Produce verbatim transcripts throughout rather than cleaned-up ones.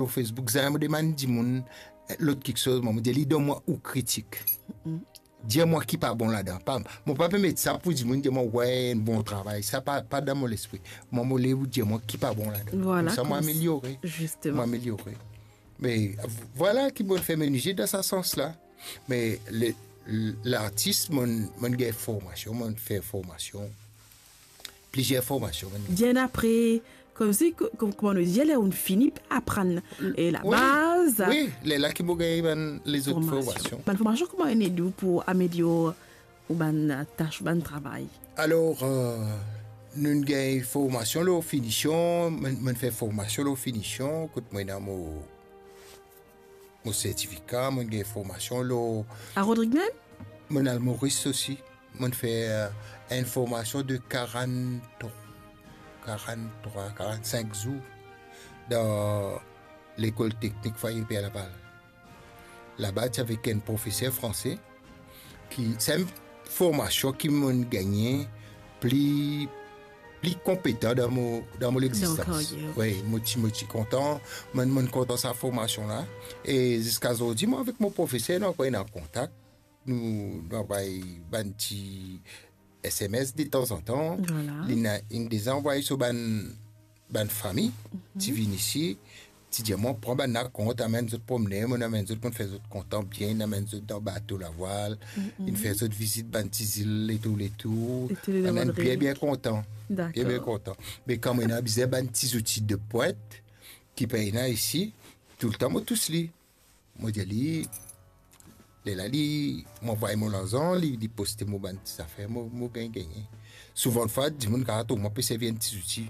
lor Facebook, zame mo demann dimoun, eh, lot kiksoz, mo, mo dir li, donn mwa ou kritik. Dir mwa ki pa bon ladan. Pa, mo pa pe met sa pou dimoun dir mwa, "Wey, enn bon travay." Sa pa, pa dan mo lespri. Mwa, mo le ou dir mwa ki pa bon ladan. Vwala, koumsa mo koumsa, ameliore. Mo ameliore. Me vwala ki mo fer mo mezir dan sa sans la. Me le, lartis, mo, mo gagn formasion, mo fer formasion. Plizier formasion, mo. Bien apre, koumsi, ko-, ko-, kouma nou dir, ler ou'nn fini aprann, e labaz. Wi, lerla ki mo gagn bann lezot formasion. Bann formasion kouma inn ed ou pou amelior ou bann tas, bann travay? Alor, eh, nou gagn formasion lor finision, mo, mo fer formasion lor finision, kot mo ena mo, mo sertifika, mo gagn formasion lor... A Rodrig mem? Mo al Moris osi. Mo fer enn formasion de karant, karant-trwa, karant-sink zour dan lekol teknik Fwaye Per Laval. Laba ti avek enn profeser franse ki, se enn formasion ki mo gagne pli, pli konpetan dan mo, dan mo legzistans. Wi, mo ti, mo ti kontan, mo, mo kontan sa formasion la. E ziska zordi, mo avek mo profeser, nou ankor ena kontak. Nou, nou anvway bann ti S M S detanzantan. Vwala. Li ena, inn deza anvway so bann, bann fami, ti vinn isi, ti dir mwa, pran bann la kont, amenn zot promne, mo amenn zot, mo fer zot kontan bien, amenn zot dan bato lavwal, inn fer zot vizit bann ti zil letour, letour. Bann la bien, bien kontan. Dakor. Bien, bien kontan. Me kan mo ena bizin bann ti zouti de pwint ki pena isi, toultan mo tous li. Mo dir li, lerla li, mo anvway mo larzan, li, li poste mo bann ti zafer, mo, mo gagn, gagne. Souvan fwa, dimoun kapav trouv mwa pe servi enn ti zouti.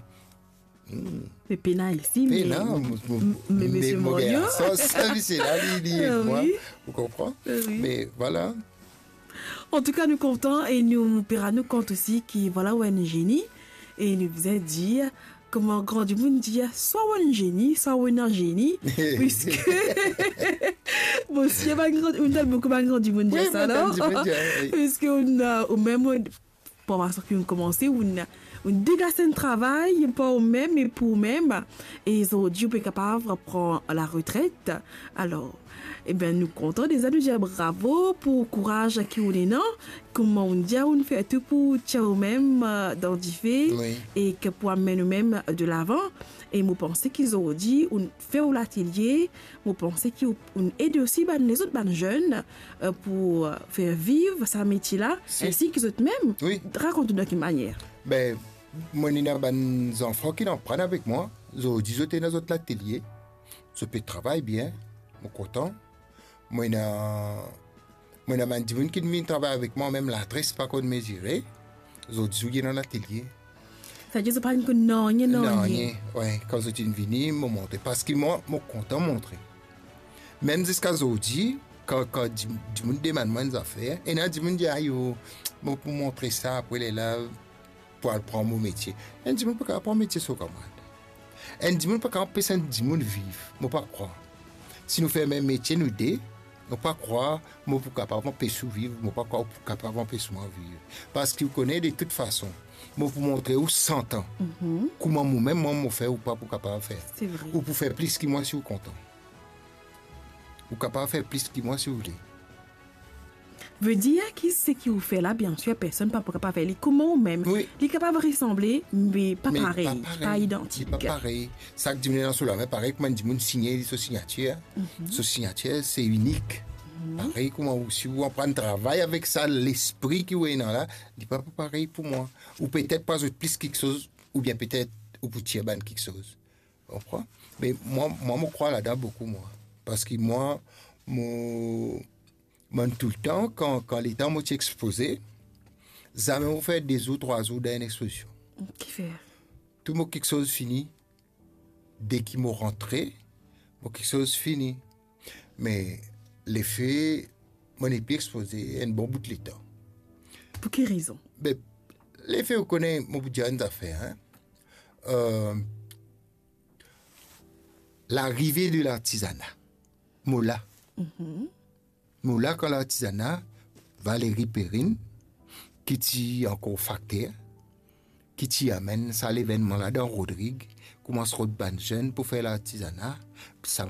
Hmm. Me pena isi, pena, me, mo, mo, me, me misie mo Morgan, gagn sa, sa, li, se la, li, li ed mwa, wi, ou konpran? Wi. Me vwala. Antouka, nou kontan e nou pe rann nou kont osi ki, vwala, ou enn zeni. E nou bizin dir, kouma gran dimoun dir, swa ou enn zeni, swa ou ena zeni, piske, bon, si bann gran, ou ena boukou bann gran dimoun dir sa, non? Wi, bann gran dimoun dir, wi. Piske ou ena, ou mem, ou, formasion ki ou komanse, ou ena, ou dega enn travay par ou mem e pou ou mem, e zordi ou pe kapav pran laretret. Alor, ebien, nou kontan deza, nou dir bravo pou kouraz ki ou ena, kouma ou dir, ou fer tou pou tir ou mem, eh, dan dife, wi, e ki pou amenn ou mem de lavan. E mo panse ki zordi ou fer ou latelie, mo panse ki ou, ou ed osi bann lezot, bann zenn, eh, pou, eh, fer viv sa metie la, si, ensi ki zot mem. Wi. Rakont nou dan ki manier. Be, mo ena bann zanfan ki inn aprann avek mwa, zordi zot ena zot latelie, zot pe travay bien, mo kontan. Mo ena, mo ena bann dimoun ki vinn travay avek mwa, mem ladres pa konn mezire, zordi zot ena latelie. Savedir zot pa konn nanye, nanye. Nanye, wi, kan zot inn vini, mo montre. Paski mwa, mo kontan montre. Mem ziska zordi, kan, kan di-, dimoun demann mwa enn zafer, ena dimoun dir, "Ayo, mo pou montre sa apre lerla, pou al pran mo metie." Enn dimoun pa kapav pran metie so kamarad. Enn dimoun pa kapav anpes enn dimoun viv, mo pa krwar. Si nou fer mem metie nou de, mo pa krwar mo pou kapav anpes ou viv, mo pa krwar ou pou kapav anpes mwa viv. Paski ou kone, de tout fason, mo pou montre ou san tan. Mhm. Kouma mo mem, mwa, mo fer, ou pa pou kapav fer. Se vre. Ou pou fer plis ki mwa si ou kontan. Ou kapav fer plis ki mwa si ou vle. Vedir ki seki ou fer la, biensir, personn pa pou kapav fer li kouma ou mem. Wi. Li kapav resanble, me pa parey, pa idantik. Li pa parey. Sak dimoun ena so lame, parey kouma enn dimoun signe li so signatir. Mhm. So signatir, se inik. Mhm. Parey kouma ou, si ou aprann travay avek sa lespri ki ou ena la, li pa, pa parey pou mwa. Ou petet pou azout plis kiksoz, oubien petet ou pou tir bann kiksoz. Konpran? Me mwa, mwa, mo krwar ladan boukou, mwa. Paski mwa, mo, mwa toultan, kan, kan letan mo ti expoze, zame mo fer de zour, trwa zour dan enn expozision. Kifer? Tou mo kiksoz fini, deki mo rantre, mo kiksoz fini. Me lefe, mo nepli expoze enn bon bout letan. Pou ki rezon? Be, lefe, ou kone, mo pou dir enn zafer, hein. Euh, larive de lartizana. Mo la. Mhm. Mo la kan lartizana, Valérie Perrine, ki ti ankor fakter, ki ti amenn sa levennman la dan Rodrig, koumans rod bann zenn pou fer lartizana, sa